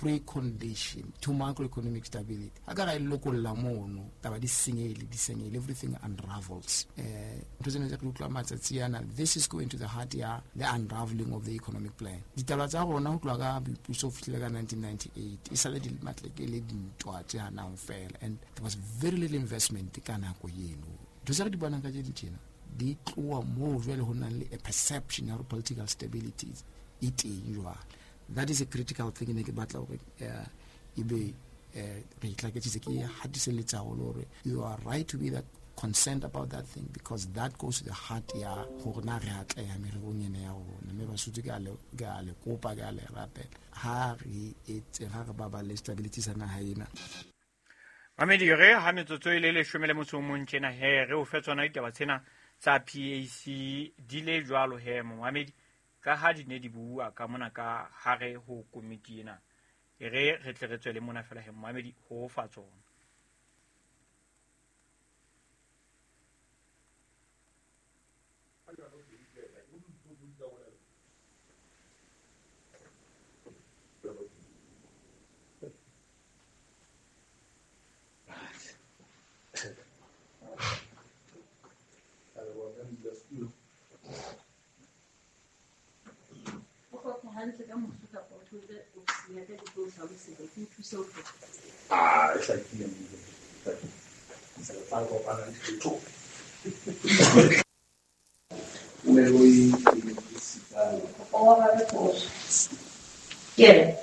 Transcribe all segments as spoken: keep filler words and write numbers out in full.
precondition to macroeconomic stability. Ha ka ra e lokolla mono, taba di senyehile, di senyehile, everything unravels. Eh, ntho tsena tse re utlwa matsatsi ana, this is going to the heart ya the unraveling of the economic plan. Ditaba tsa rona ho tloha ka boipuso ho fihlela ka nineteen ninety-eight, e sale di matleke le dintwa tse hanang fela, and there was very little investment ka nako eno. Ntho tse re di bonang ka tse tjena di tloha moo jwale ho nang le a perception ya political stability e teng jwale. That is a critical thing ne ke batla hore, eh, e be, eh, re itlaketsitse ke hatiselletsa haholo hore you are right to be that concerned about that thing, because that goes to the heart ya hore na re atleha mererong ena ya rona. Mme Basotho ke a le, ke a le kopa, ke a le rapela, ha re etse, ha re baballe stability sa naha ena. Mamedi, re ha metsotso e le leshome le motso o mong tjena he, re o fe tsona ditaba tsena tsa P A C di le jwalo he, momamedi, ka ha di ne di bua ka mona ka hare ho komiti ena. E re re tle re tswele mona fela he, momamedi, ho fa tsona. Ah, e hlakile, se re tla kopana le ditho. Yeah.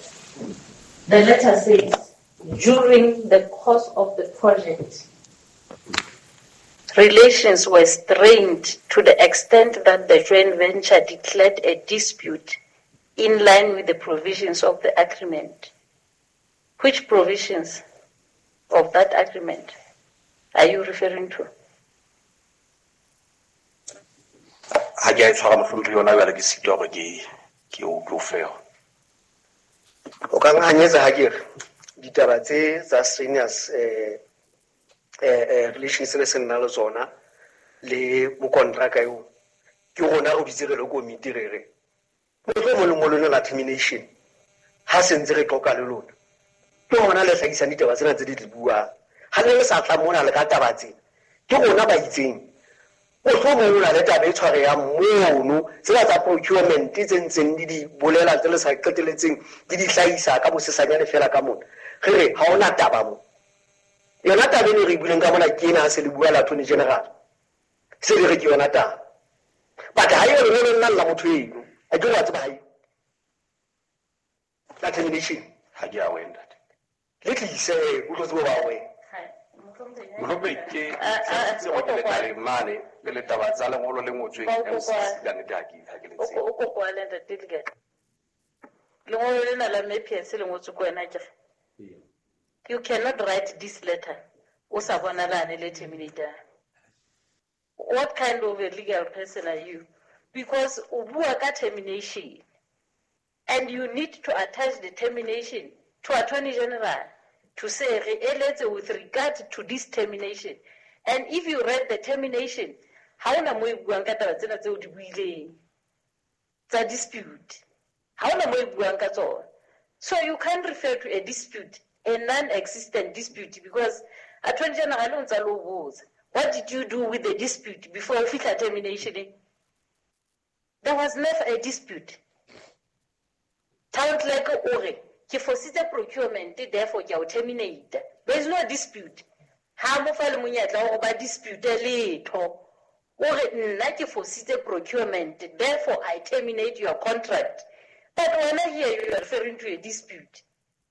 The letter says, during the course of the project, relations were strained to the extent that the joint venture declared a dispute in line with the provisions of the agreement. Which provisions of that agreement are you referring to? Ha ke a e tshwara mohlomphehdi yona jwale ke sitwa hore ke, ke o ke o fe yona. O ka nhanyetsa ha ke re ditaba tse tsa strenuous, eh, eh, eh, relations le se nna le tsona le mokontraka eo, ke rona re bitse re le komiti re re mohlomong lengolo lena la termination ha se ntse re qoqa le lona, ke hona le hlahisang ditaba tsena tse di di buang. Ha le sa tla mona le ka taba tsena, ke rona ba itseng mohlomong o na le taba e tshwarehang mono, tsena tsa procurement tse ntseng di di bolela tse le sa qeteletseng di di hlahisa ka bosesanyane fela ka mona. Re re ha hona taba mo. Yona taba eno re e buileng ka mona ke ena ha se le bua la Attorney General, se le re ke yona taba. But ha eo lengolo lena la motho eno, a ke re wa tseba ha eo. La termination. Ha ke a wena, ntate. Le tlise, o tlo tseba ba wena. Mohlomphehdi, ke tshepisitse hore ke le tla le mane le le taba tsa lengolo le ngotsweng M C C ka nnete ha ke, ha ke le tsebe. O ko kwale, ntate Lekane. Lengolo lena la M P S le ngotswe ke wena akere? You cannot write this letter o sa bonalane le terminator. What kind of a legal person are you? Because o bua ka termination and you need to attach the termination to Attorney General to say re eletse with regard to this termination. And if you read the termination, ha ona mo e buang ka taba tsena tseo di buileng tsa dispute. Ha ona mo e buang ka tsona. So you can't refer to a dispute, a non-existent dispute, because Attorney General o ntsa le o botsa, what did you do with the dispute before o fihla termination? There was never a dispute. Town clerk o re, ke fositse procurement, therefore ke a o terminate. There is no dispute. Ha mo fa le monyetla wa hore ba dispute letho. O re, nna ke fositse procurement, therefore I terminate your contract. But wena here you are referring to a dispute.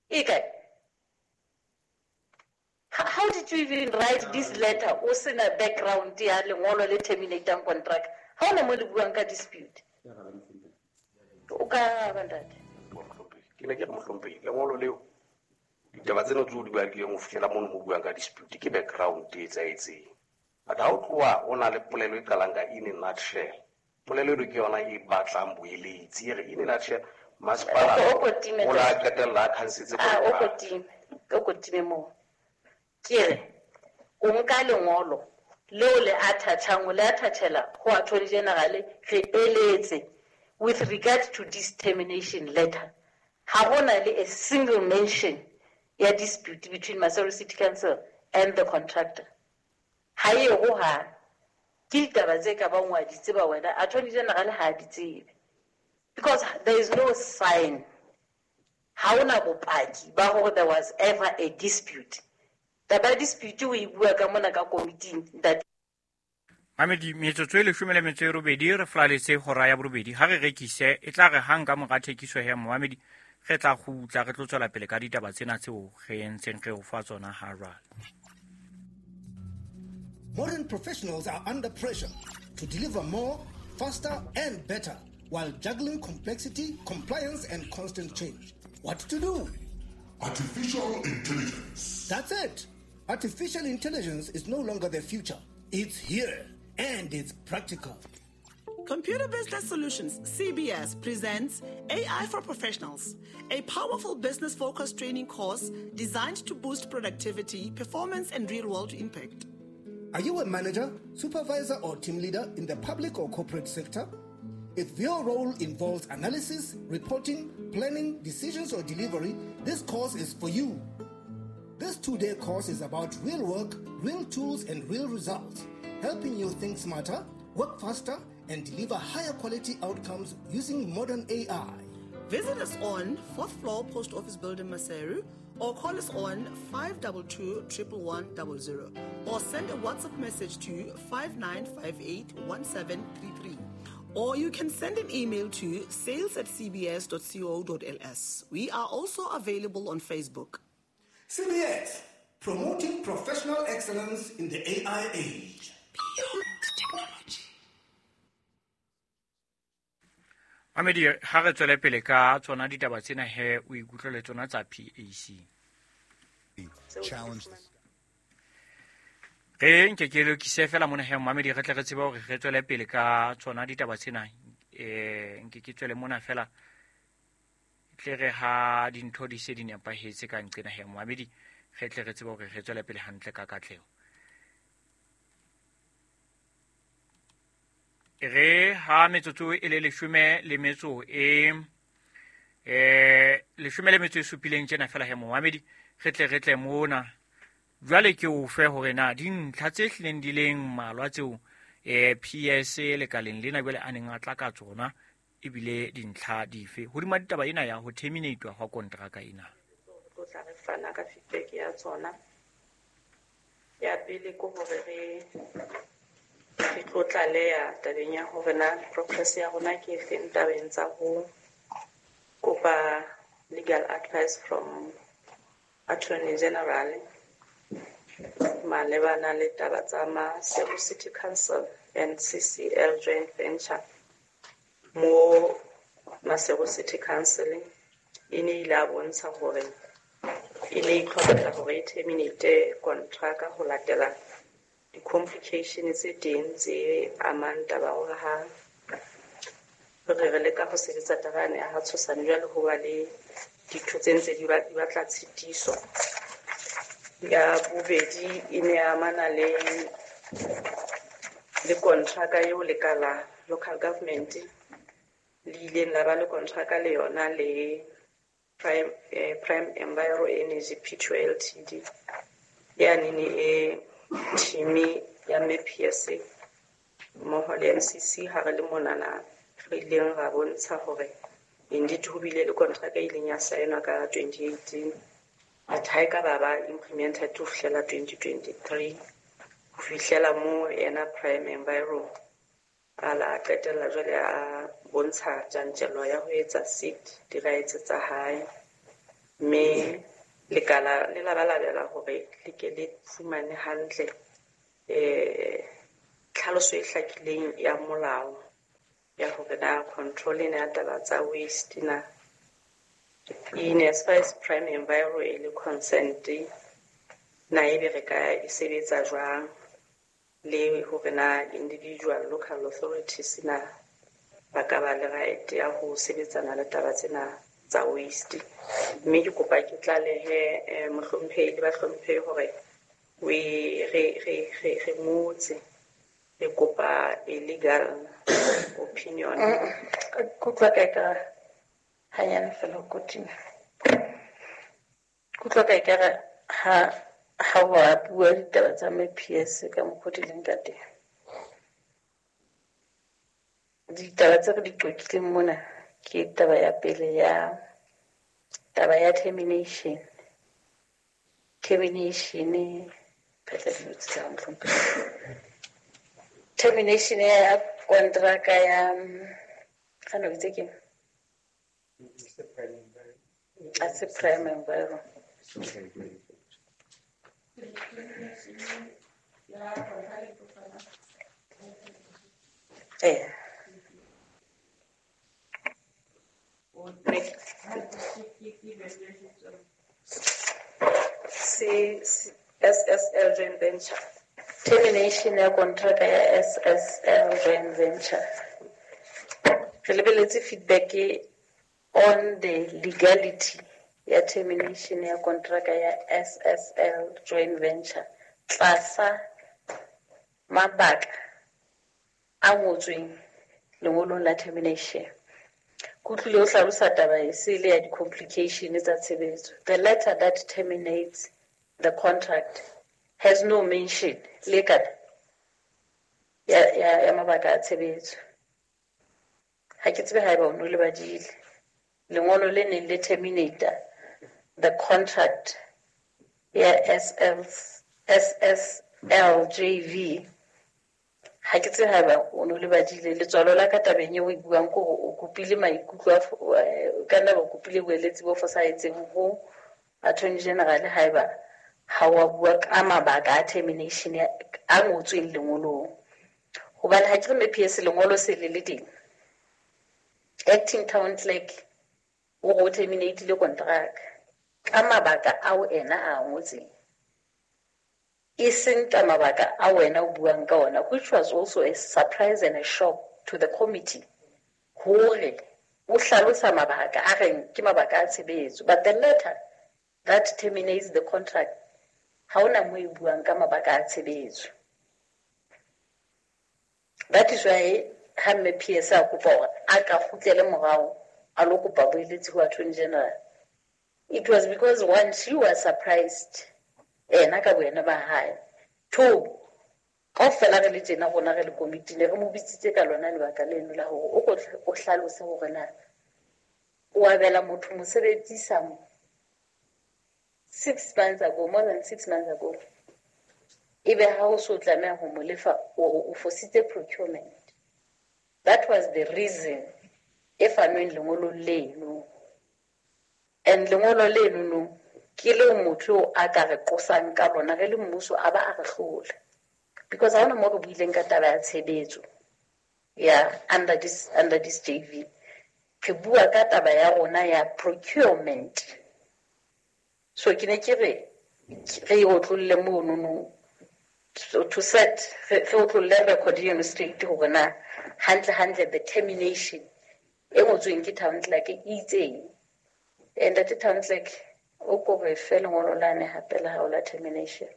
E kae? How did you even write this letter o sena background ya lengolo le terminating contract? Ha ona mo le buang ka dispute. O ka ba ntate. Ke ne ke re mohlomphehi, lengolo leo ditaba tsena tseo di bakileng ho fihlela mono mo buang ka dispute ke background e etsahetseng. But ha o tloha o na le polelo e qalang ka in a nutshell, polelo eno ke yona e batlang boeletsi, e re in a nutshell masepala O ko time o la qetella a khansetse Ah, o ko contract. time, o ko time moo. Ke re o nka lengolo leo le attachang, o le attachela ho Attorney General re eletse with regard to this termination letter. Ha hona le a single mention ya dispute between Maseru City Council and the contractor. Ha e ho ha ke ditaba tse ka bang wa di tseba wena, Attorney General ha di tsebe. Because there is no sign. Ha hona bopaki ba hore there was ever a dispute. Taba dispute o e bua ka mona ka committee that Mamedi metsotso e leshome le metso e robedi re flaletse hora ya borobedi ha re rekise e tla re hang ka mora thekiso ya Mohamedi re tla kgutla re tlo tswela pele ka ditaba tsena tseo re entseng re o fa tsona ha jwale. Modern professionals are under pressure to deliver more, faster and better while juggling complexity, compliance and constant change. What to do? Artificial intelligence. That's it. Artificial intelligence is no longer the future. It's here. And it's practical. Computer Business Solutions, C B S, presents A I for Professionals, a powerful business-focused training course designed to boost productivity, performance, and real-world impact. Are you a manager, supervisor, or team leader in the public or corporate sector? If your role involves analysis, reporting, planning, decisions, or delivery, this course is for you. This two-day course is about real work, real tools, and real results, helping you think smarter, work faster, and deliver higher quality outcomes using modern A I. Visit us on fourth floor Post Office Building, Maseru, or call us on five two two, one one one zero zero, or send a WhatsApp message to five nine five eight, one seven three three. Or you can send an email to sales at c b s dot co dot l s. We are also available on Facebook. C B S, promoting professional excellence in the A I age. Beyond technology. Mamedi ha re tswele pele ka tsona ditaba tsena he o ikutlwe le tsona tsa P A C. Challenge. Re nke ke lokise fela mona he Mamedi re tle re tsebe hore re tswele pele ka tsona ditaba tsena eh nke ke tswele mona fela tle re ha dintho di se di nepahetse ka nqena he Mamedi re tle re tsebe hore re tswele pele hantle ka katleho. Re ha metsotso e le leshome le metso e eh leshome le metso e supileng tjena fela he Mohamedi re tle re tle mona jwale ke o fe hore na dintlha tse hlileng di leng mmalwa tseo eh P S lekaleng lena jwale a neng a tla ka tsona ebile dintlha dife hodima ditaba ena ya ho terminate hwa kontraka ena. Tlo tla re fana ka feedback ya tsona. Ya pele ke hore re re tlo tlaleha tabeng ya hore na progress ya rona ke efeng tabeng tsa ho kopa legal advice from Attorney General malebana le taba tsa Maseru City Council and C C L joint venture. Mo Maseru City Council e ne ile a bontsha hore e ne itlhopela hore e terminate kontraka ho latela di-complication tse teng tse amang taba hore ha re re leka ho sebetsa taba yane ya ha Tshosane jwale ho ba le dintho tse ntse di batla tshitiso. Ya bobedi e ne amana le le kontraka eo lekala local government le ileng la ba le kontraka le yona le Prime eh, Prime Enviro Energy P two L T D ya nene e team ya M P S mmoho le M C C ha re le monana re ileng ra bontsha hore indeed ho bile le kontraka e ileng ya saenwa ka twenty eighteen but ha e ka ba ba implemented ho fihlela twenty twenty-three ho fihlela mo yena Prime Enviro a la qetella jwale a bontsha tjantjello ya ho etsa seat di-rights tsa hae mme lekala le labalabela hore le ke le fumane hantle eh tlhaloso e hlakileng ya molao ya hore na control ena ya taba tsa waste na in as far as Prime Enviro e le consent na ebe re ka e sebetsa jwang le hore na individual local authorities na ba ka ba le right ya ho sebetsana le taba tsena tsa waste. Mme ke kopa ke tlalehe mohlomphehi le bahlomphehi hore we re re re re ngotse re kopa a legal opinion. Kutlwa ka ka Hanyane fela kotima. Kutlwa ka ekare ha ha wa bua ditaba tsa M P S ka mokgwa di leng ka teng. Ditaba tse re di qoqileng mona ke taba ya pele ya taba ya termination. Termination phetla dilo tse tsa mohlomphehi. Termination ya kontraka ya ga no itse ke a se Prime Enviro. Eh. C S S L joint venture. Termination ya kontraka ya S S L joint venture. Re lebeletse feedback on the legality ya termination ya kontraka ya S S L joint venture tlasa mabaka a ngotsweng lengolong la termination. Kutlwile o hlalosa taba e se le ya di-complication tsa tshebetso. The letter that terminates the contract has no mention le kana ya ya ya mabaka a tshebetso. Ha ke tsebe haeba o no le badile lengolo le neng le terminate the contract ya S S L J V. Ha ke tsebe haeba o no le badile letswalo la ka tabeng eo o e buang ke hore o kopile maikutlo a ka nna ba kopile boeletsi bo fosahetseng ho Attorney General haeba ha wa bua ka mabaka a termination a ngotsweng lengolong. Hobane ha ke re M P S lengolo se le le teng. Acting Town Clerk o go terminate le contract ka mabaka ao ena a ngotseng. E seng ka mabaka a wena o buang ka ona, which was also a surprise and a shock to the committee. Hore o hlalosa mabaka a reng ke mabaka a tshebetso, but the letter that terminates the contract ha ona mo e buang ka mabaka a tshebetso. That is why ha M P S a kopa hore a ka kgutlele morao a lo kopa boeletsi ho Attorney General. It was because one, she was surprised ena ka boena ba hae. Two, kaofela re le tjena rona re le committee ne re mo bitsitse ka lona lebaka leno la hore o ko o hlalose hore na o abela motho mosebetsi some six months ago, more than six months ago. Ebe ha o so tlameha ho mo lefa o o fositse procurement. That was the reason e fanweng lengolo leno. And lengolo leno no ke le motho a ka re qosang ka lona re le mmuso a ba a re hlola. Because ha hona mo re buileng ka taba ya tshebetso ya under this under this J V. Re bua ka taba ya rona ya procurement. So ke ne ke re re otlolle mono no to set re otlolle record eno straight hore na hantle hantle the termination e ngotsweng ke Town Clerk e itseng. And that Town Clerk o ko re fe lengolo lane hape la hao la termination.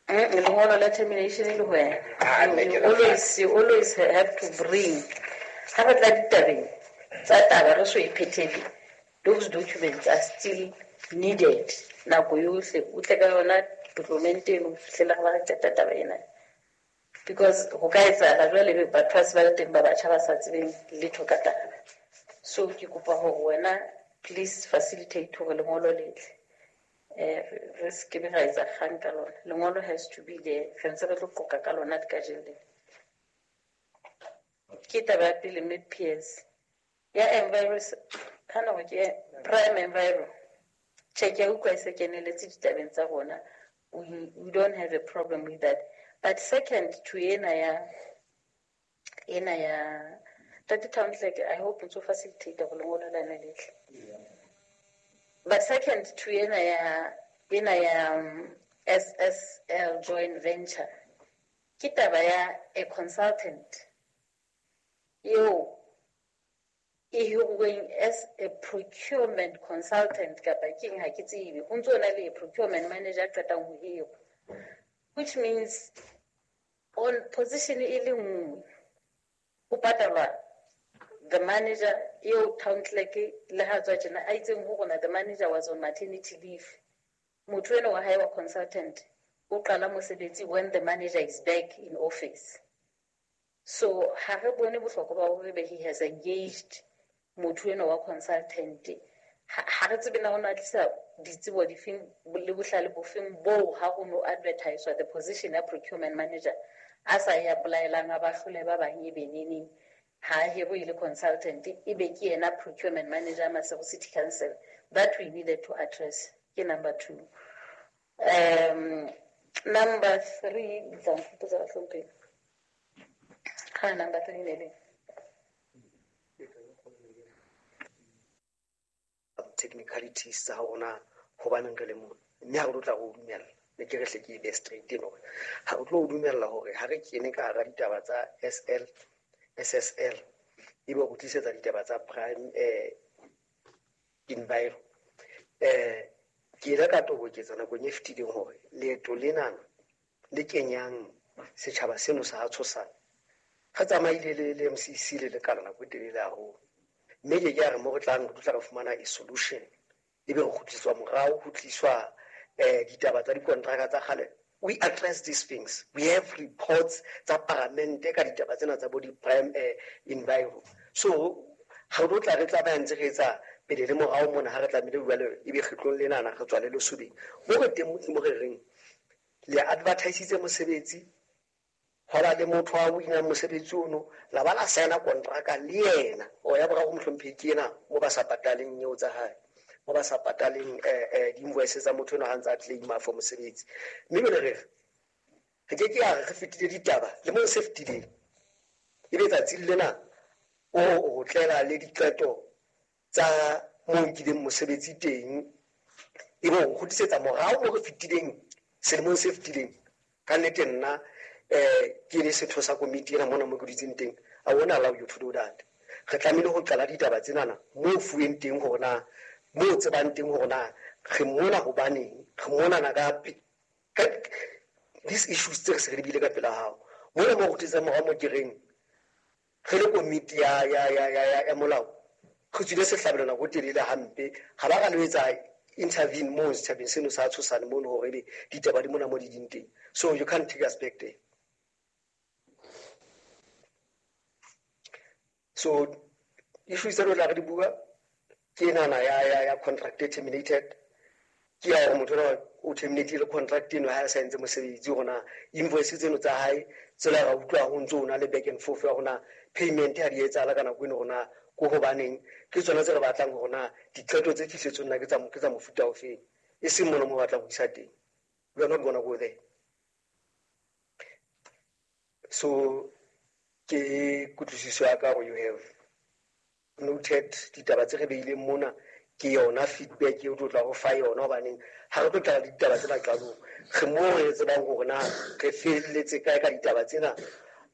Lengolo la termination e le wena. You always, you always have to bring. Ha re tla ditabeng tsa taba re so e phethele, those documents are still needed. Nako yohle o tle ka yona document eno ho fihlela re ba re qeta taba ena. Because ho ka etsahala jwale batho ba se ba le teng ba batjha ba sa tsebeng letho ka taba. So ke kopa hore wena please facilitate hore lengolo le tle. Eh re se ke be ra etsa kgang ka lona. Lengolo has to be there. Re ntse re tlo qoqa ka lona kajeno lena. Ke taba ya pele M P S ya enviro kana hore ke Prime Enviro. Check ya utlwa e se keneletse ditabeng tsa rona. We, we don't have a problem with that. But second to ena ya ena ya Ntate Town Clerk, I hope o facilitate hore lengolo lane le tle. But second to ena ya ena ya um, S S L joint venture ke taba ya a consultant eo e hiruweng as a procurement consultant kapa keng ha ke tsebe ho ntso na le procurement manager qetang ho hirwa, which means On position e le nngwe ho patalwa the manager eo town clerk le ha tswa tjena a itseng ho rona the manager was on maternity leave. Motho eno wa hae wa consultant o qala mosebetsi when the manager is back in office. So ha re bone bohlokwa ba hore be he has engaged motho eno wa consultant. Ha re tsebe na hona tlisa ditsebo difeng le bohlale bofeng bo ha ho no advertise the position ya procurement manager a sa ya apply-elang a ba hlole ba bang e beneneng ha hero ile consultant e be ke yena procurement manager Maseru City Council. That we needed to address. Ke number two. Um, number three, ha number three ne le technicalities tsa rona hobaneng re le mona mme ha re tlo tla go dumella ne ke re hle ke be straight eno ha o tlo dumella hore ha re kene ka hara ditaba tsa S L S S L e be go tlisetsa ditaba tsa prime eh enviro eh ke ile ka toboketsa nakong e fetileng hore leeto lenana le kenyang setjhaba seno sa tshosana re tsamaile le le M C C le lekala nako e telele haholo mme ke ke a re mo re tlang re tla re fumana a solution ebe re kgutliswa morao ho tliswa eh ditaba tsa dikontraka tsa kgale. We address these things. We have reports tsa parliament ka ditaba tsena tsa bo di prime eh, enviro. So ha re tla re tsamaya ntse re etsa pele le morao mona ha re tlamehile jwale ebe kgetlong lenana re tswa le lesobeng mo re teng mo re reng le advertisitse mosebetsi ho ba le motho wa winang mosebetsi ono la ba la signa kontraka le yena o ya boraro mohlomphehi ke yena mo ba sa pataleng eo tsa hae mo ba sa pataleng eh eh di-invoices tsa motho eno ha ntse a claima for mosebetsi mme jwale re re ke ke ya re fetile ditaba le mo se fetileng ebe tsatsing lena o o tlela le diqeto tsa mo nkileng mosebetsi teng ebe o kgutlisetsa morao mo re fetileng selemong se fetileng ka nnete nna eh ke le setho sa komiti ena mona mo ke dutseng teng I won't allow you to do that. Re tlamehile ho qala ditaba tsenana mo fuweng teng hore na mo tsebang teng hore na re mona hobaneng re monana ka these issues tse re se re di bile ka pela hao mona mo go tlisang morao mo ke reng re le komiti ya ya ya ya ya molao re tswile sehlabelo nako e telele hampe ha ba ka lo etsa intervene mo setjhabeng seno sa tshosane mono hore ebe ditaba di mona mo di ding teng. So you can't take us back there. So issues tse re tla re di bua ke enana ya ya ya contract e terminated ke ya hore motho o terminate contract eno ha a sa entse mosebetsi hore invoice tseno tsa hae tsela ra utlwa ho ntso ona le back and forth ya hore payment ha di etsahala ka nako eno hore ko hobaneng ke tsona tse re batlang hore na diqeto tse fihletseng nna ke tsa ke tsa mofuta ofeng e seng mona mo batlang ho isa teng. We are not gonna go there. So ke kutlwisiso ya ka hore you have noted ditaba tse re beileng mona ke yona feedback eo tlo tla go fa yona hobaneng ha re tlo tla ditaba tsena qalong re mo re tsebang hore na re felletse kae ka ditaba tsena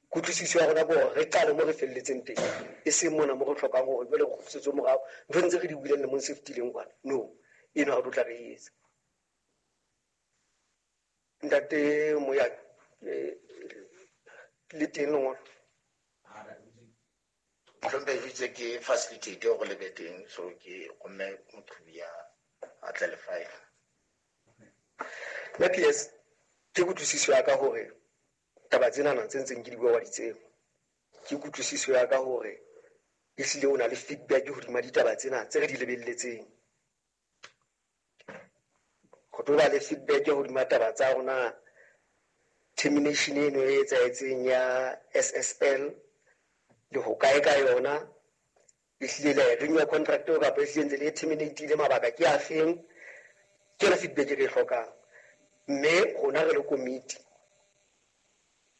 kutlwisiso ya rona ke hore re qale mo re felletseng teng e seng mona mo re hlokang hore jwale re kgutlisetswe morao ntho ntse re di buileng lemong se fetileng kwana no eno ha re tlo tla re etsa. Ntate Moyane le teng lengolo Mohlomphehi itse ke facilitate hore le be teng so ke romme moqhubi ya a tle le file. Nna P S ke kutlwisiso ya ka hore taba tsenana tse ntseng ke di bua wa di tseba ke kutlwisiso ya ka hore ehlile o na le feedback hodima ditaba tsena tse re di lebelletseng go tlo ba le feedback hodima taba tsa rona termination eno e etsahetseng ya S S L le ho kae ka yona ehlile le renew contract eo kapa ehlile ntse le terminate-ile mabaka ke a feng ke yona feedback e re e hlokang mme rona re le komiti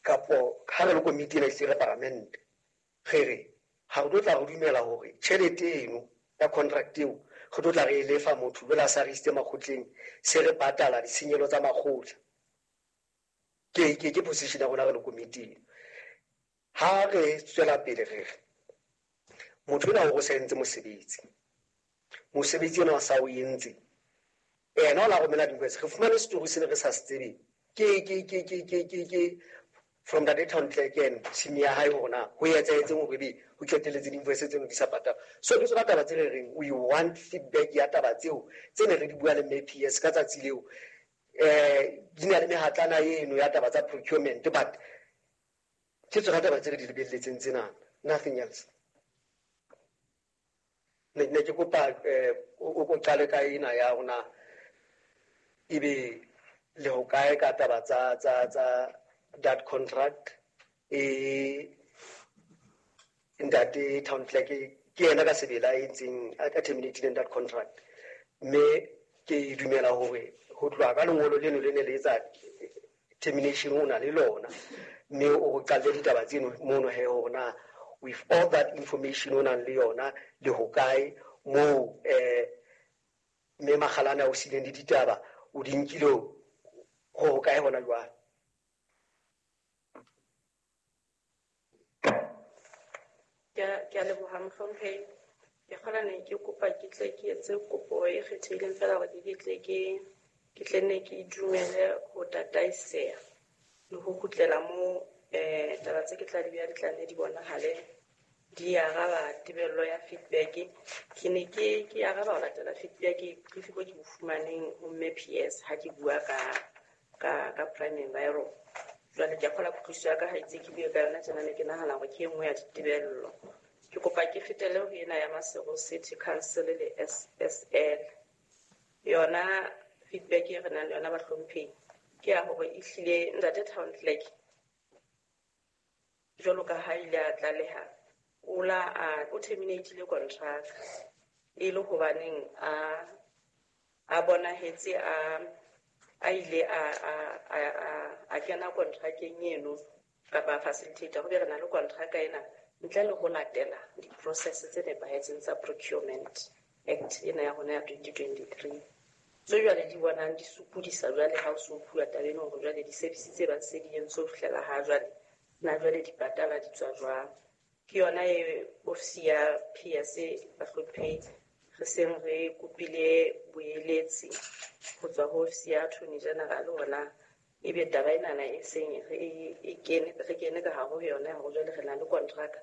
kapo ha re le komiti ena ehlile re paramente re re ha re tlo tla re dumela hore tjhelete eno ya contract eo re tlo tla re e lefa motho jwale a sa re isitse makgotleng se re patala ditshenyehelo tsa makgotla ke ke ke position ya rona re le komiti eno. Ha re tswela pele re re motho ena o sa entse mosebetsi mosebetsi ona sa o entse ena o la romela di-invoice re fumane story se re sa se tsebeng ke ke ke ke ke ke ke from ntate town clerk and team ya hae hore na ho etsahetseng hore ebe ho qetelletse di-invoice tseno di sa patalwa. So ke tsona taba tse re reng we want feedback ya taba tseo tse ne re di bua le mme P S ka tsatsi leo. Eh di na le mehatlana eno ya taba tsa procurement, but ke tsona taba tse re di lebelletseng tsena, nothing else. Ne ne ke kopa eh o o qale ka ena ya rona ebe le ho kae ka taba tsa tsa tsa that contract e ntate town clerk ke yena ka sebele a entseng a terminating that contract, mme ke dumela hore ho tloha ka lengolo leno le ne le etsa termination o na le lona, mme o qalle ditaba tseno mono he hore na with all that information o nang le yona le ho kae moo eh mme Makgalane o sileng le ditaba o di nkile ho ho kae hona jwale. Ke a leboha mohlomphehi. Ke kgola ne ke kopa ke tle ke etse kopo e kgethehileng fela hore ke tle ke ke tle nne ke itumele ho tataiseha le ho kgutlela moo eh taba tse ke tla di beha di tla nne di bonahale di araba tebello ya feedback. Ke ne ke ke araba ho latela feedback brief bo ke bo fumaneng ho mme P S ha ke bua ka ka ka Prime Enviro. Jwale ke a kgola kutlwisiso ya ka ha itse ke bue ka yona tjena, ne ke nahana hore ke e nngwe ya ditebello. Ke kopa ke fetele ho ena ya Maseru City Council le S S L. Yona feedback e re nang le yona bahlomphehi ke ya hore ehlile ntate town clerk jwalo ka ha ile a tlaleha o la a o terminatile contract e le hobaneng a a bonahetse a a ile a a a a kena contracteng eno kapa facilitator ho be re na le contract ena ntle le ho latela di-process tse nepahetseng tsa procurement act ena ya rona ya twenty twenty-three. Tse jwale di bonang di sokodisa jwale ha o so bua taba eno hore jwale di-service tse bang se di entswe ho fihlela ha jwale na jwale di patala di tswa jwang. Ke yona e ofisi ya P S bahlomphehi re seng re kopile boeletsi ho tswa ho ofisi ya Attorney General hona ebe taba enana e seng re e kene re kene ka hare ho yona hore jwale re na le contract.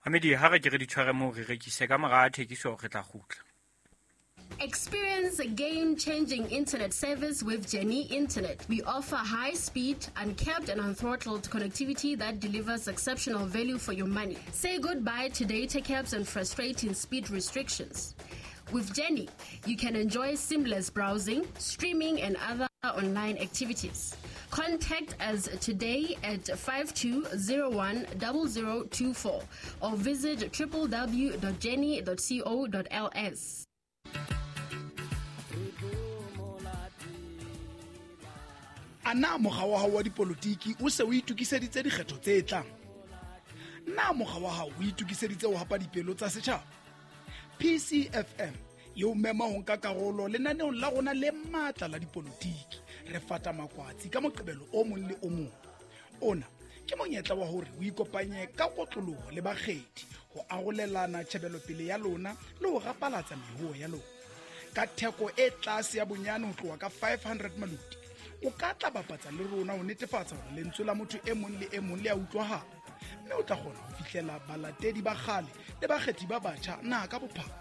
Mamedi ha re ke re di tshware moo re rekise ka mora thekiso re tla kgutla. Experience a game-changing internet service with Jenny Internet. We offer high-speed, uncapped and unthrottled connectivity that delivers exceptional value for your money. Say goodbye to data caps and frustrating speed restrictions. With Jenny, you can enjoy seamless browsing, streaming and other online activities. Contact us today at five two zero one zero zero two four or visit w w w dot jenny dot co dot l s. A na mokga wa hao wa dipolotiki o se o itokiseditse dikgetho tse tlang? Na mokga wa hao o itokiseditse ho hapa dipelo tsa setjhaba? P C F M e o mema ho nka karolo lenaneong la rona le matla la dipolotiki. Re fata makwatsi ka Moqebelo o mong le o mong. Ona ke monyetla wa hore o ikopanye ka kotloloho le bakgethi ho arolelana tjhebelopele ya lona le ho rapalatsa mehuo ya lona. Ka theko e tlase ya bonyane ho tloha ka five hundred maluti, o ka tla bapatsa le rona ho netefatsa hore lentswe la motho e mong le e mong le a utlwahala, mme o tla kgona ho fihlela balatedi ba kgale le bakgethi ba batjha naha ka bophara.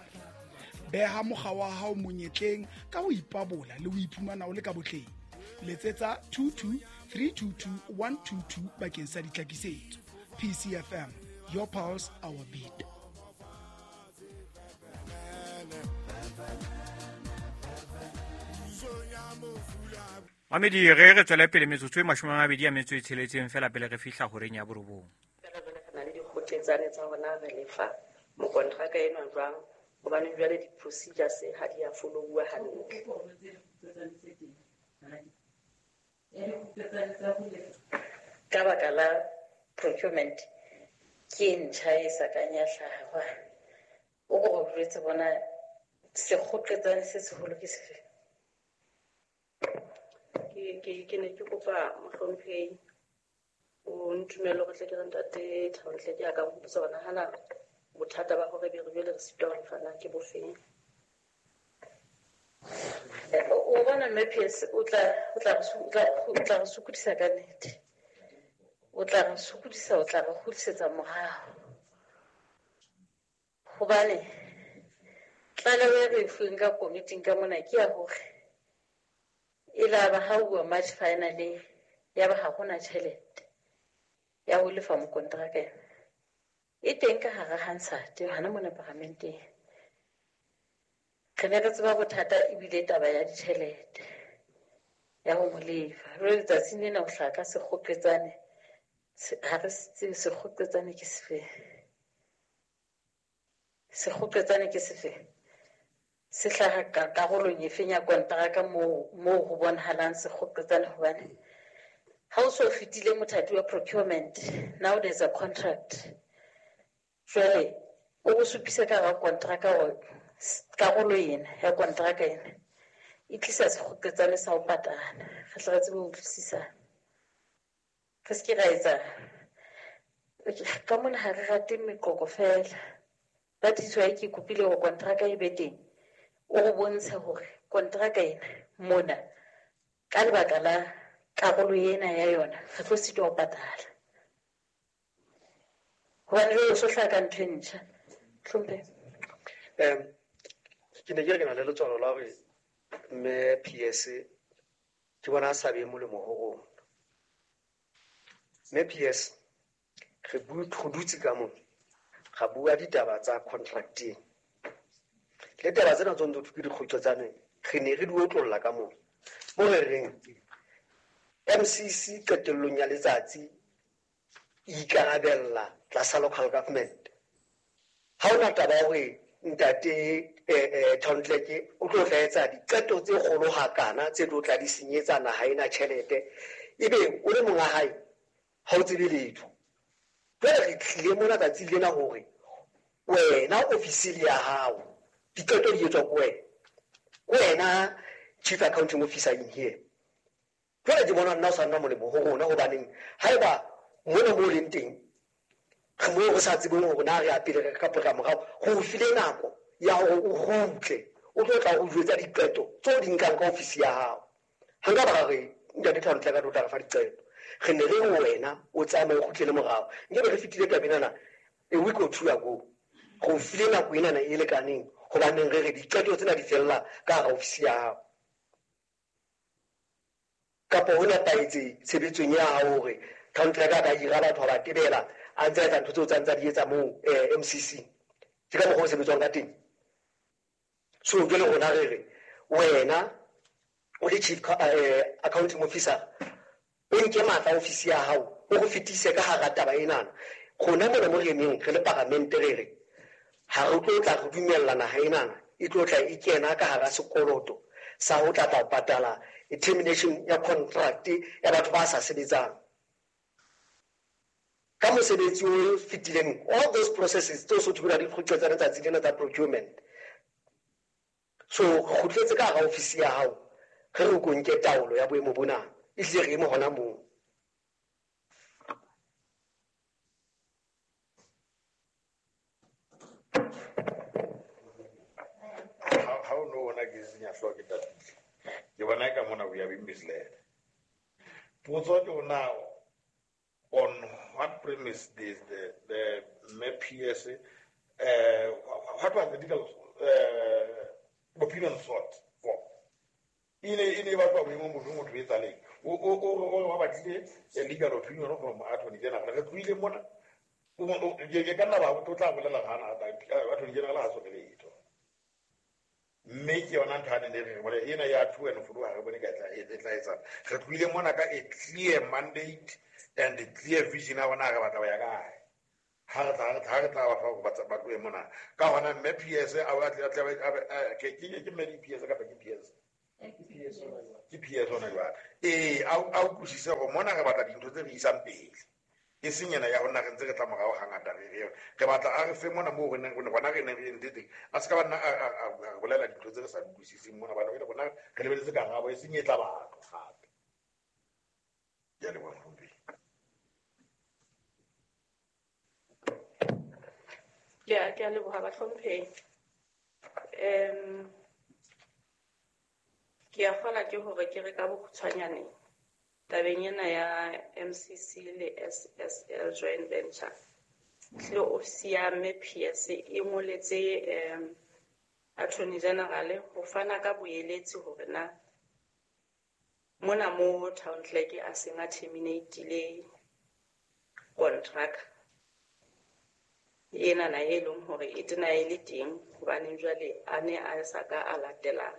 Beha mokga wa hao monyetleng ka ho ipabola le ho iphumana o le ka botleng. Letsetsa two two three two two one two two bakeng sa ditlhakisetso. P C F M, your pulse, our beat. Mamedi re re tswele pele metsotso e mashome a mabedi a metso e tsheletseng fela pele re fihla horeng ya borobong. Fela jwale re na le dikgotletsane tsa rona re lefa mokontraka enwa jwang hobane jwale di-procedures ha di a follow-uwa hantle. Ka baka la procurement ke e ntjha e sa kang ya hlaha. O ko o jwetse bona sekgotletsane se seholo ke sefe? Ke ke ke ne ke kopa mohlomphehi o ntumelle hore tle ke re ntate Thabontle ke ya ka hopotsa hore nahana bothata ba hore be re jwale re sitwa ho lefana ke bofeng. O bona mme P S o tla o tla o tla o tla re sokodisa ka nnete. O tla re sokodisa, o tla re kgutlisetsa morao. Hobane tlaleho e re e fuweng ka komiting ka mona ke ya hore e la ba ha uwa March finally ya ba ha hona tjhelete ya ho lefa mokonteraka ena. E teng ka hara Hansard hana mona paramenteng. Re ne re tseba bothata ebile taba ya ditjhelete ya ho mo lefa. Jwale letsatsing lena ho hlaha ka sekgoqetsane, ha re se tsebe sekgoqetsane ke sefeng. Sekgoqetsane ke sefeng? Se hlaha ka karolong efeng ya konteraka moo moo ho bonahalang sekgoqetsane hobane ha o so fetile mothati wa procurement, now there's a contract. Jwale o go supisa ka hara konteraka hore karolo ena ya konteraka ena e tlisa sekgoqetsane sa ho patala. Re tle re tsebe ho utlwisisana. Re se ke ra etsa ka mona ha re rate meqoqo fela. That is why ke kopile hore konteraka e be teng. O re bontshe hore konteraka ena mona ka lebaka la karolo ena ya yona re tlo sitwa ho patala. Hobane jwale o so hlaha ka ntho e ntjha. Hlomphe. Um ke ne ke re ke na le letswalo la hore mme P S ke bona a sa be molemo ho rona. Mme P S re bue dutse ka mona ga bua ditaba tsa contracting. Le taba tsena tse ntse ke dikgotsotsane re ne re di otlolla ka mona. Mo re reng M C C qetellong ya letsatsi e ikarabella tlasa local government. Ha hona taba ya hore ntate eh town clerk o tlo tla etsa diqeto tse kgolo hakana tse tlo tla di senyetsa naha ena tjhelete ebe o le monga hae ha o tsebe letho. Jwale re tlile mona tsatsi lena hore wena ofisili ya hao diqeto di etswa ke wena. Ke wena chief accounting officer in here. Jwale ke bona nna o sa nna molemo ho rona hobaneng haeba mona mo leng teng re mo re sa tsebeng hore na re ya pele kapa re ya morao, go o file nako ya hore o kgutle o tlo tla o jwetsa diqeto tseo di nkang ka ofisi ya hao. Ha nka ba ra re ntate town clerk a tlo tla re fa diqeto. Re ne re wena o tsamaye o kgutlele morao. Nkebe re fetile tabeng ena a week or two ago. Go file nako enana e lekaneng hobaneng re re diqeto tsena di fella ka hara ofisi ya hao. Kapa ho nepahetse tshebetsong ya hao hore town clerk a ka hira batho ba ba tebela a ntse a etsa ntho tseo tsa ntse a di etsa moo M C C. Ke ka mokgwa o sebetswang ka teng. So jwale rona re re wena o le chief accounting officer o nke matla ofisi ya hao o go fetise ka hara taba enana. Rona mona mo re emeng re le paramente re re ha re tlo tla re dumella naha enana e tlo tla e kena ka hara sekoloto sa ho tla tla ho patala termination ya contract ya batho ba sa sebetsang. Ka mosebetsi o fetileng all those processes tseo so thubela di kgutla tsa letsatsi lena tsa procurement. So re kgutletse ka hara ofisi ya hao re re ko nke taolo ya boemo bona ehlile re eme hona moo. Ha o no bona ke senya hlooho ke tatile. Ke bona eka mona we are being misled. Potso ke hore on what premise this the the M P S uh, what was the legal uh, opinion sought for? Ine ine ba ba boemo motho motho etsaleng. O o o ba batlile a legal opinion from attorney general. Re tlohile mona o ke ka nna ba o tla bolela hana attorney general ha so re letho. Mme ke yona ntho a ne re bone ena ya two and four ha re bone ka tla e tla etsa. Re tlohile mona ka a clear mandate and a clear vision a bona re batla ho ya kae. Ha re tla ha re tla ba fa ba ba tlohe mona. Ka hona mme P S a a tle ke ke ke mme P S kapa ke P S. Ke P S ona jwale. Eh a a utlwisise hore mona re batla dintho tse re isang pele. E seng ena ya hona re ntse re tla morao hangata re re re batla a re fe mona moo re neng rona re neng re entse teng. A se ka ba nna a bolela dintho tse re sa utlwisiseng mona bana re rona re lebeletse karabo e seng e tla batho gape. Ke a leboha Mohlomphehi. Ke a ke a leboha Bahlomphehi. Um ke a kgola ke hore ke re ka bokgutshwanyane Tabeng ena ya M C C le S S L joint venture, tlile ofisi ya Mme P S e ngoletse um Attorney General ho fana ka boeletsi hore na mona mo town clerk a seng a terminate-ile contract ena na e leng hore e tena e le teng hobane jwale a ne a sa ka a latela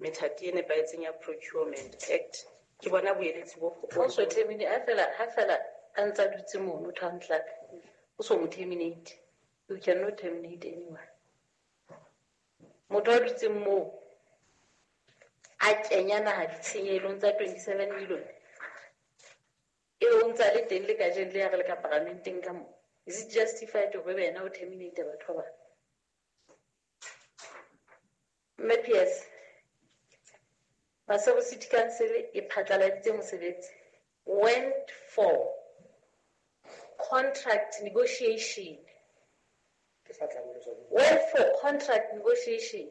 methati e nepahetseng ya Procurement Act. Ke bona boeletsi bo O so terminate ha fela ha fela a ntsa dutse mono town clerk o so mo terminate. You cannot terminate anyone. Motho a dutseng moo a kenya naha ditshenyehelo tsa twenty-seven million e o ntsa le teng le kajeno le ya re le ka paramenteng ka mo. Is it justified hore wena o terminate batho ba bang? Mme P S, Maseru City Council e phatlaladitse mosebetsi went for contract negotiation. Went for contract negotiation.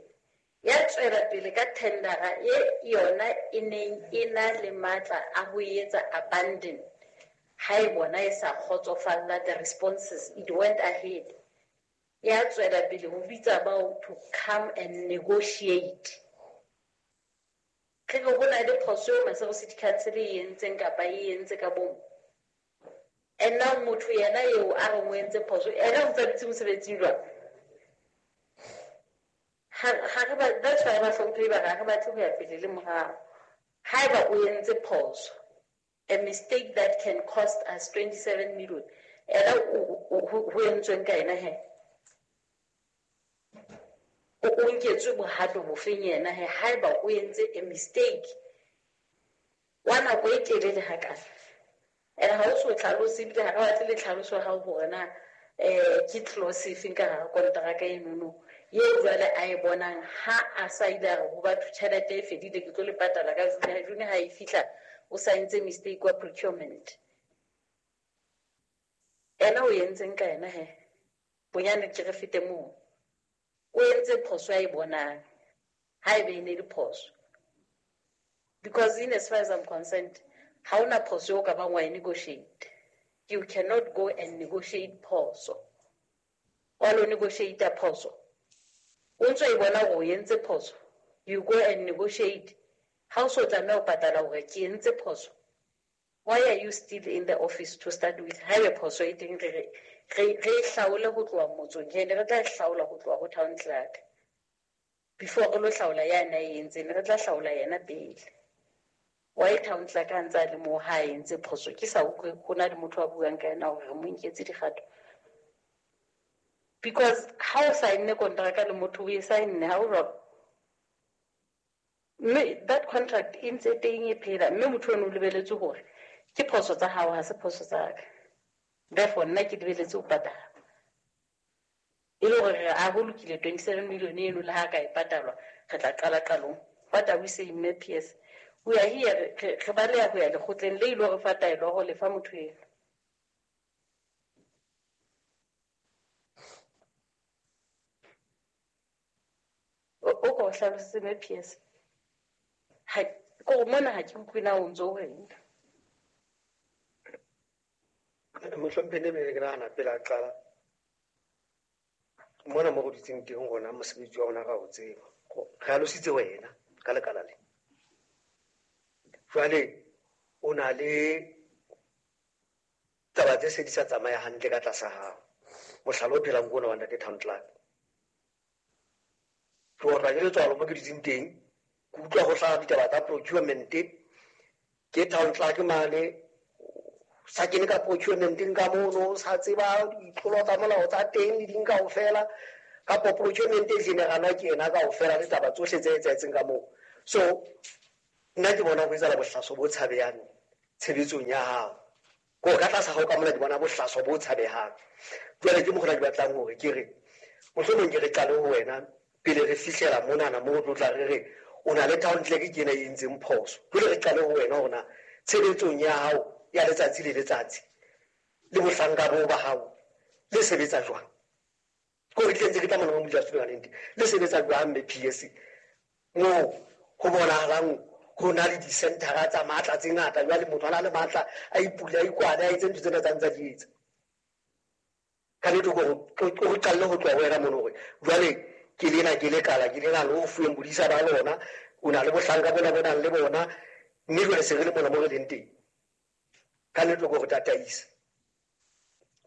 Ya tswela pele ka tendera e yona e neng e na le matla a ho etsa abandon. Ha e bona e sa kgotsofalla the responses, it went ahead. Ya tswela pele ho bitsa bao to come and negotiate. Ke go bona le phoso eo Maseru City Council e entseng kapa e entse ka bomo. And now motho yena eo a re o entse phoso, ena o ntsa dutse mosebetsing jwang? Ha re ba, that's why ba hlomphe ba re batle ho ya pele le morao. Haeba o entse phoso, a mistake that can cost us twenty-seven million, ena ho entsweng ka ena he? O nketswe bohato bofeng yena he haeba o entse a mistake wa nako e telele hakana? And ha o so tlhalose ebile ha re batle le tlhaloso ya hao hore na eh ke clause efeng ka hara kontraka enono eo jwale a e bonang ha a sa ile a re ho batho tjhelete e fedile ke tlo le patala ka June, June ha e fihla o saentse mistake wa procurement. Ena o entseng ka yena he? Bonyane ke re fete moo. O entse phoso a e bonang ha ebe e ne le phoso. Because in as far as I'm concerned, ha ona phoso eo ka bang wa e negotiate. You cannot go and negotiate phoso. Wa lo negotiate phoso. O ntso e bona hore o entse phoso. You go and negotiate. Ha o so tlameha ho patala hore ke entse phoso. Why are you still in the office to start with? Haebe phoso e teng re re re e hlaole ho tloha motsong, ke ne re tla hlaola ho tloha ho town clerk. Before re lo hlaola yana e entseng, re tla hlaola yena pele. Why town clerk a ntse a le moo ha a entse phoso? Ke sa utlwe ho na le motho a buang ka yena hore re mo nketse dikgato. Because ha o saenne kontraka le motho o e saenne ha o jwalo. Mme that contract e ntse teng e phela, mme motho ono o lebeletse hore ke phoso tsa hao ha se phoso tsa ka. Therefore nna ke lebeletse ho patala. E le hore a ho lokile twenty-seven million eno le ha ka e patalwa re tla qala qalong. What are we saying, Mme P S? We are here re baleha ho ya lekgotleng le ilo re fa taelo ho lefa motho eno. O o ko hlalosetse Mme P S. Ha ko mona ha ke utlwe na o ntso o reng. Mohlomphehi ne ke nahana pele a qala mona mo go dutseng teng rona mosebetsi wa rona ra o tseba. Re alositse wena ka lekala le. Jwale o na le taba tse se di sa tsamaya hantle ka tlasa hao. Mohlala o phelang ko ona wa ntate town clerk. Ke otlwa ke letswalo mo ke dutseng teng, ke utlwa ho hlaha ditaba tsa procurement, ke town clerk mane sa kene ka procurementeng ka mono, sa tseba ditlolo tsa molao tsa teng le ding kaofela, kapa procurement e generalwa ke yena kaofela le taba tsohle tse etsahetseng ka moo. So nna ke bona ho etsahala bohlaso bo tshabehang tshebetsong ya hao. Ko ka tlasa hao ka mona ke bona bohlaso bo tshabehang. Jwale ke mokgwa ke batlang hore ke re mohlomong ke re qale ho wena pele re fihlela monana moo re tlo tla re re o na le town clerk ke ena e entseng phoso. Jwale re qale ho wena hore na tshebetsong ya hao ya letsatsi le letsatsi le bohlanka bo ba hao le sebetsa jwang? Ko re tlentse ke tla mona mo modulasetulo ka nnete. Le sebetsa jwang Mme P S? Moo ho bonahalang Ho na le di-centera tsa matla tse ngata, jwale motho a na le matla a ipule a ikwale a etse ntho tsena tsa ntsa di etsa. Ka nnete ko go qalle ho tloha ho wena mono hore jwale ke lena ke lekala ke lena le o fuweng bodisa ba lona, o na le bohlanka bona bo nang le bona, mme jwale se re le mona mo re leng teng. Ka nnete ko go tataisa.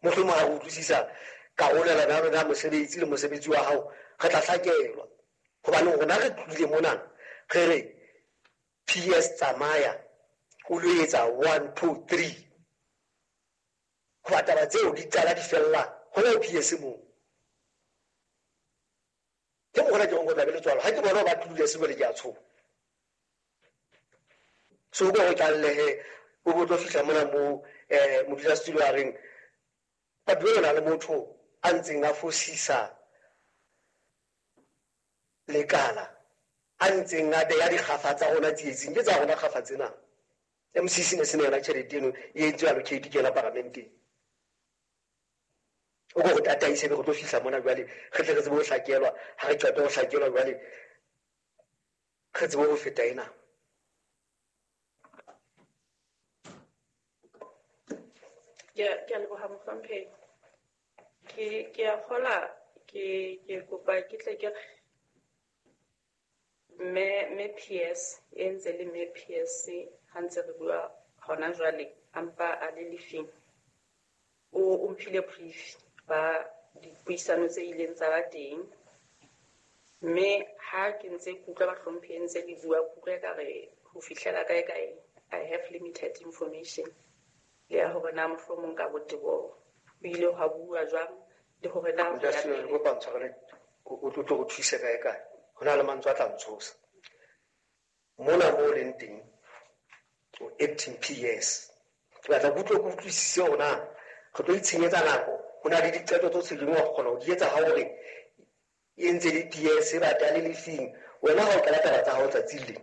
Mohlomong ha re utlwisisa karolelano ya rona ya mosebetsi le mosebetsi wa hao, re tla hlakelwa. Hobane rona re tlohile mona re re P S tsamaya o lo etsa one two three. Hoba taba tseo di qala di fella hona ho P S moo. Ke mo hona ke go tla be le tswalo. Ha ke bona ba tlile se bole ke a tshoha. So go go tlallehe o bo tlo fihla mona mo eh modulasetulo a reng ba duela le motho a ntseng a fosisa lekala a ntseng a beya dikgafa tsa rona tsietsing ke tsa rona kgafa tsena. M C C ne se ne yona tjhelete eno e entswe allocate ke yona paramenteng. O go go tataise be go tlo fihla mona jwale re tle re tsebe ho hlakelwa, ha re qeta ho hlakelwa jwale re tsebe ho feta ena. Ke ke a leboha mohlomphehi. Ke ke a kgola ke ke kopa ke tle ke me me P S e ntse le me P S ha ntse re bua hona jwale ampa a le lefing. O o mphile brief ba dipuisano tse ileng tsa ba teng. Mme ha ke ntse ke utlwa bahlomphehi ntse le bua ke utlwa ekare ho fihlela kae kae I have limited information. Le ya hore na mohlomong ka botebo ho ile hwa bua jwang le hore na ho ya Modulasetulo, pele. ke kopa ntshwarele, o tlo tlo go thuse kae kae. Ho na le mantswe a tla ntshosa. Mona mo o leng teng, o acting P S. Ke batla ke utlwe ke utlwisise hore na re tlo itshenyetsa nako. Ho na le diqeto tse ding wa kgona ho di etsa ha hore e ntse le P S ba ta le lefing. Wena ha o qala taba tsa hao tsatsi le,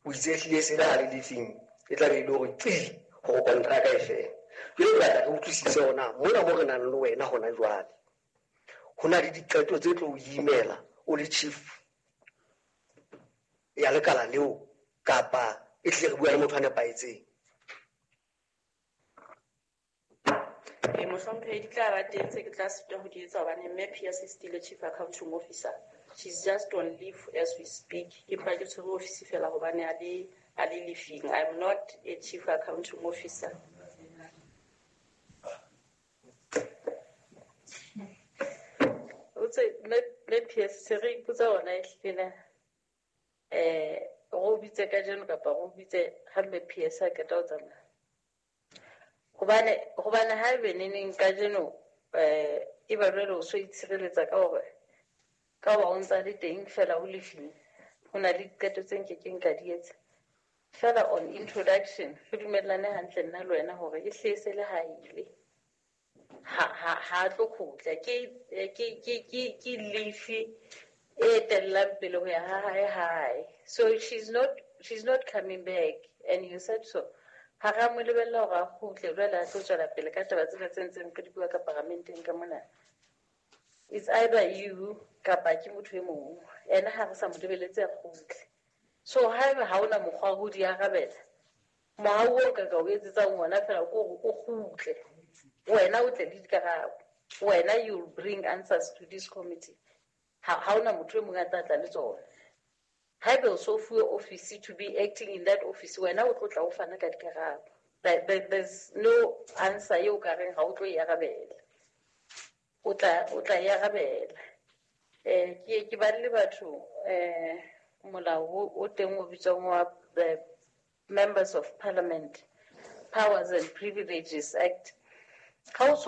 o itse ehlile se le ha le lefing, e tla be e le hore qi hore kontraka e fela. Jwale ke batla re utlwisise hore na mona mo re nang le wena hona jwale, ho na le diqeto tse tlo o imela o le chief ya lekala leo, kapa e tle re bua le motho a nepahetseng. E mohlomphehi di tla ba teng tse ke tla sitwa ho di etsa hobane mme P S is still a chief accounting officer. She's just on leave as we speak. Ke mpa ke tshwere office fela hobane a le a le leaving. I'm not a chief accounting officer. O tse mme mme P S se re ipotsa hona ehlile na eh go bitse kajeno kapa go bitse ha mme P S a qeta ho tsamaya. Hobane hobane ha ebe neneng kajeno eh e ba jwale o so itshireletsa ka hore ka hoba o ntsa le teng fela o lefile, ho na le diqeto tse nkekeng ka di etsa. Fela on introduction re dumellane hantle nna le wena hore e hle se le ha ile. Ha ha ha tlo kgutla ke ke ke ke ke lefi e tellang pele ho ya ha hae hae. So she's not she's not coming back and you said so. Ha ra mo lebella hore a kgutle jwale a tlo tswela pele ka taba tsena tse ntseng re di bua ka paramenteng ka mona. It's either you kapa ke motho e mong. Ena ha re sa mo lebeletse a kgutle. So haeba ha ona mokgwa wa ho di arabela, mohau o nka ka o etsetsang ona fela ke hore o kgutle. Wena o tle le dikarabo. Wena you will bring answers to this committee. Ha ha ona motho e mong a tla tla le tsona. Haeba o so fuwe office to be acting in that office, wena o tlo tla o fana ka dikarabo. There, there, there's no answer eo ka reng ha o tlo e arabela. O tla, o tla e arabela. Eh, ke, ke badile batho, eh, molao o, o teng o bitswang wa the Members of Parliament Powers and Privileges Act. Ha o so